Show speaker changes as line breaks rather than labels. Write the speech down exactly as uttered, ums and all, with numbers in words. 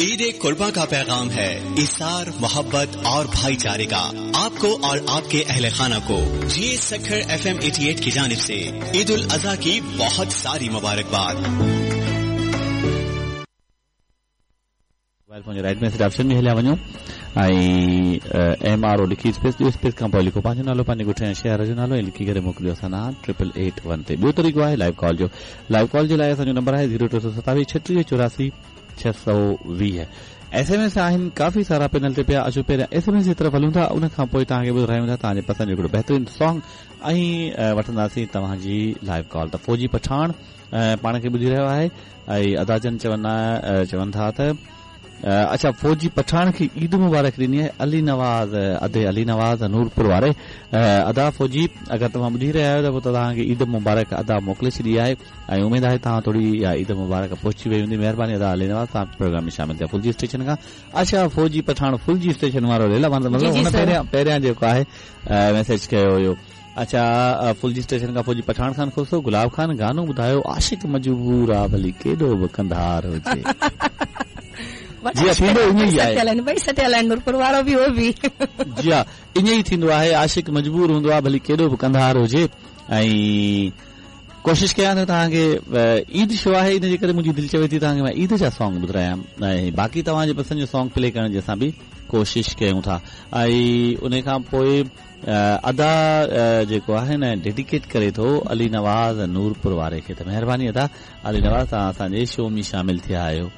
ईद कुर्बा का पैगाम है इसार, मोहब्बत और भाईचारे का। आपको और आपके अहल खाना को जी सखर एफ एम अठासी की जानिब से ईद उल अजहा की बहुत सारी मुबारकबाद।
मोबाइल फोन जे राइट मैसेज ऑप्शन में हलिया वञो ऐं एम आर ओ लिखी स्पेस ॾियो, स्पेस खां पोइ लिखो पंहिंजो नालो, पंहिंजे ॻोठ ऐं शहर जो नालो ऐं लिखी करे मोकिलियो असां ॾांहुं ट्रिपल एट वन ते। ॿियो तरीक़ो आहे लाइव कॉल जो। लाइव कॉल जे लाइ असांजो नंबर आहे ज़ीरो टे सौ सतावीह छटीह चौरासी छह सौ वीह। एस एम एस आहिनि काफ़ी सारा पैनल ते पिया, अचो पहिरियां एस एम एस जी तरफ़ हलूं था, उन खां पोइ तव्हांखे ॿुधायूं था तव्हांजे पसंदि जो हिकिड़ो बहितरीन सॉन्ग ऐं वठंदासीं तव्हांजी लाइव कॉल। त फौजी पठाण पाण खे ॿुधी रहियो आहे ऐं अदा जन चवंदा चवनि था त अच्छा फौजी पठाण खे ईद मुबारक ॾिनी आहे अली नवाज़, अदे अली नवाज़ नूरपुर वारे। अदा फौजी अगरि तव्हां ॿुधी रहिया आहियो त पोइ तव्हांखे ईद मुबारक अदा मोकिले छॾी आहे ऐं उमेद आहे तव्हां थोरी इहा ईद मुबारक पहुची वई हूंदी। महिरबानी अदा अली नवाज़, तव्हां प्रोग्राम में शामिल थिया फुलजी स्टेशन खां। अच्छा फौजी पठाण फुलजी स्टेशन वारो लेला माना मतिलबु हुन पहिरियां पहिरियां जेको आहे मैसेज कयो हुयो। अच्छा फुलजी स्टेशन खां फौजी पठाण खान खोसो, गुलाब खान गानो ॿुधायो आशिक मजबूर आहे भली केॾो बि कंधार हुजे। जी थींदो ईअं ई आहे,
भई सटियल आहिनि नूरपुर वारो बि उहो बि।
जी हा ईअं ई थींदो आहे, आशिक मजबूर हूंदो आहे भली केॾो बि कंधार हुजे। ऐं कोशिश कयां थो तव्हांखे ईद शो आहे इन जे करे मुंहिंजी दिलि चवे थी तव्हांखे मां ईद जा सॉन्ग ॿुधायां ऐं बाक़ी तव्हांजे पसंदि जो सॉन्ग प्ले करण जी असां बि कोशिश कयूं था। ऐं उन खां पोइ अदा जेको आहे न डेडिकेट करे थो अली नवाज़ नूरपुर वारे खे, त महिरबानी अदा अली नवाज़ तव्हां असांजे शो में शामिल थिया आहियो।